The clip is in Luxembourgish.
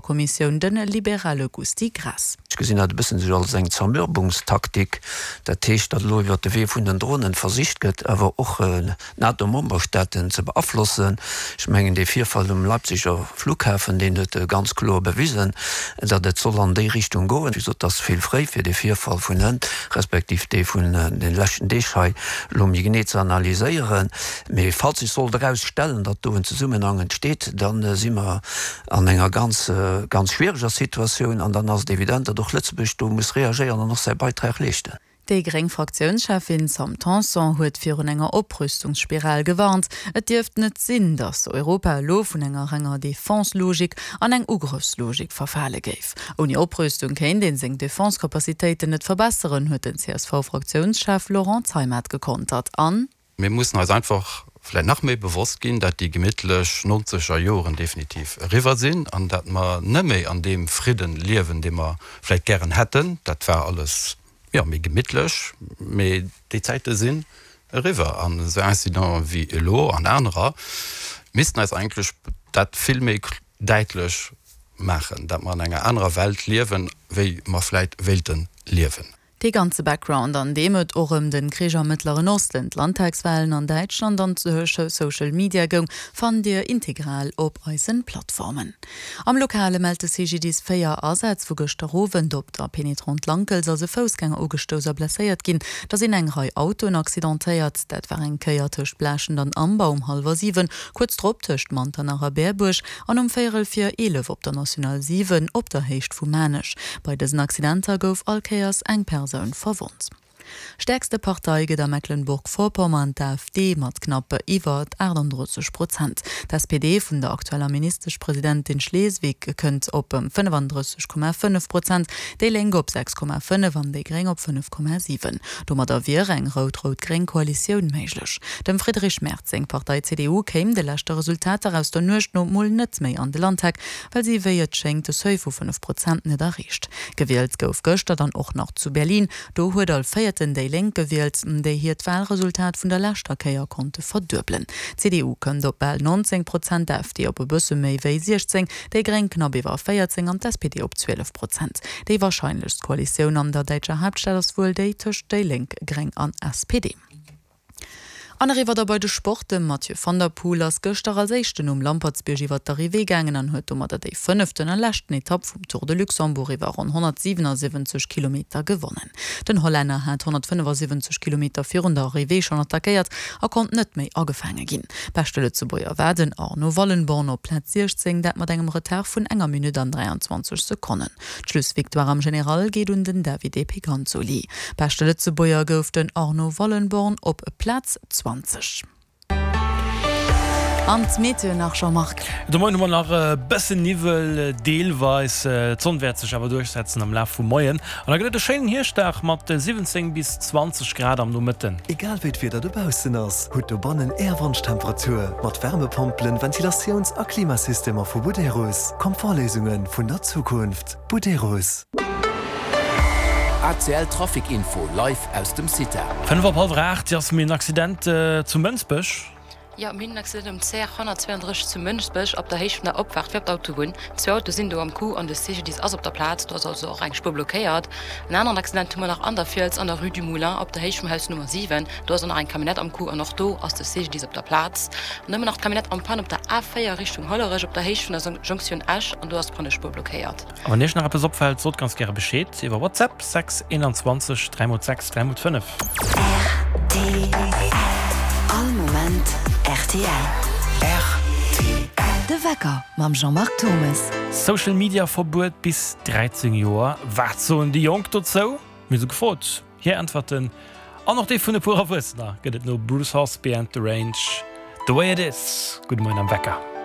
Kommissioun, de liberale Gusty Graas. Ech gesinn dat e bëssen esou als eng Zermürbungstaktik. Dat heescht, datt elo iwwert de Wee vun den Dronen versicht gëtt, awer och d'NATO-Memberstaaten ze beaflossen. Ech mengen, dee Virfall um Leipziger Flughafen, deen huet ganz kloer bewisen, datt et soll an déi Richtung goen. Wéi gesot, et ass vill fréi, fir dee Virfall vun hënt, respektiv dee vun de leschten Deeg hei elo méi genee ze analyséieren. Mee falls sech sollt erausstellen, datt do en Zesummenhang entsteet, da si mer an enger ganz, ganz schwiereger Situatioun an dann ass et evident, datt och Lëtzebuerg do muss reagéieren an och säi Beitrag leeschten. Déi gréng Fraktiounscheffin Sam Tanson huet virun enger Oprüstungsspiral gewarnt. Et dierft net sinn, datt Europa elo vun enger renger Defense-Logik an eng Ugrëffslogik verfale géif. Ouni Oprüstung kéint een seng Defense-Capacitéiten net verbesseren, huet den CSV-Fraktiounschef Laurent Zeimet gekontert an. Mir mussen eis einfach vläit nach méi bewosst ginn, dat déi gemittlech nonzeger Joren definitiv eriwwer sinn an dat mer net méi an deem Fridden liewen, dee mer vläit gären hätten. Dat war alles, jo, méi gemittlech, mee déi Zäite sinn eriwwer. An esou Incidenten wéi elo an anerer missten eis eigentlech dat vill méi däitlech maachen, dat mer an enger anerer Welt liewen, wéi mer vläit wéilte liewen. Dee ganze Background, an deem et och ëm den Krich am Mëttleren Osten, d'Landtagswahlen an Däitschland an Social Media goung, fannt Dir integral op eisen Plattformen. Am Lokale mellt de CGDIS 4 Asätz vu gëschter Owend. Op der Pénétrante Lankels ass e Foussgänger ugestouss a blesséiert ginn. Da sinn eng Rei Autoen accidentéiert. Dat war eng Kéier tëscht Blaaschent an Amber um hallwer 7, kuerz drop tëscht Manternach a Berbuerg an um véierel vir 11 op der National 7 op der Héicht vu Maarnech. Bei dësen Accidenter gouf all Kéiers eng Persoun verwonnt. Stäerkste Partei gëtt a Mecklenburg-Vorpommern d'AfD mat knapp iwwer 38 Prozent. D'SPD vun der aktueller Ministeschpresidentin Schleswig kënnt op 35,5 Prozent, déi Lénk op 6,5 an déi Gréng op 5,7. Domadder wier eng rout-rout-gréng Koalitioun méiglech. Dem Friedrich Merz seng Partei CDU kéim de leschte Resultater aus der Nuecht no mol net méi an de Landtag, well si wéi et schéngt de Seuil vu 5 Prozent net erreecht. Gewielt gouf gëschter dann och nach zu Berlin. Do huet all Véierten déi Lénk gewielt, déi hiert Walresultat vun der leschter Kéier konnte verduebelen. D'CDU kënnt op bal 19 Prozent, d'AfD op e bësse méi wéi 16, déi Gréng knapp iwwer 14 an d'SPD op 12 Prozent. Déi warscheinlechst Koalitioun an der däitscher Haaptstad ass wuel déi tëscht déi Lénk, Gréng an SPD. An eriwwer da bei de Sport, De Mathieu van der Poel ass gëschter als éischten um Lampertsbierg iwwer d'Arrivée gaangen an huet domadder déi fënneften a leschten Etapp vum Tour de Luxembourg iwwer ronn 177 Kilometer gewonnen. Den Hollänner hat 175 Kilometer virun der Arrivée schonn attackéiert a konnt net méi agefaange ginn. Beschte Lëtzebuerger war den Arno Wallenborn op Plaz 16, dat mat engem Retard vun enger Minutt an 23 Sekonnen. D'Schlussvictoire am General geet un den Davide Piganzoli. Beschte Lëtzebuerger gouf den Arno Wallenborn op Plaz 20. An d'Meteo nach, Jean-Marc? De Moien hu mer nach e bëssen Niwwel, deelweis. D'Sonn wäert sech awer duerchsetzen am Laf vum Moien an da gëtt et e schéinen Hierschtdag mat 17 bis 20 Grad am Nomëtten. Egal wéi d'Wieder dobaussen ass, hutt dobannen Är Wonschtemperatur mat Wärmepompelen, Ventilatiouns a Klimasystemer vu Buderus. Komfortléisunge vun der Zukunft. Buderus. ACL Trafic Info live aus dem CITA. 5 op hallwer 8, Jasmin, Accident zu Mënsbech. Jo, mir hunn en Accident um CR 132 zu Mënsbech op der Héicht vun der Opfaart fir op d'Autobunn. Zwou Autoe sinn do am Coup an de CGDIS ass op der Plaz. Do ass also och eng Spuer blockéiert. En aneren Accident hu mer nach an der Fiels an der Rue du Moulin op der Héicht vum Haus Nummer 7. Do ass och nach eng Camionnette am Coup an och do ass de CGDIS op der Plaz. An da hu mer nach d'Camionnette en panne op der A4 Richtung Hollerech op der Héicht vun der Jonktioun Esch an do ass d'Pannespuer blockéiert. A wann Iech nach eppes opfält, sot ganz gäre Bescheed iwwer WhatsApp 6 21 3 x 6 3 x 5. Rtl. All Moment rtl. Rtl. De Wecker mam Jean-Marc Thommes. Social Media Verbuet bis 13 Joer, wat soen déi Jonk dozou? Mir hu se gefrot, hir Äntwerten an och déi vun e puer Erwuessener gëtt et no Bruce Hornsby and The Range, The Way It Is. Gudde Moien am Wecker.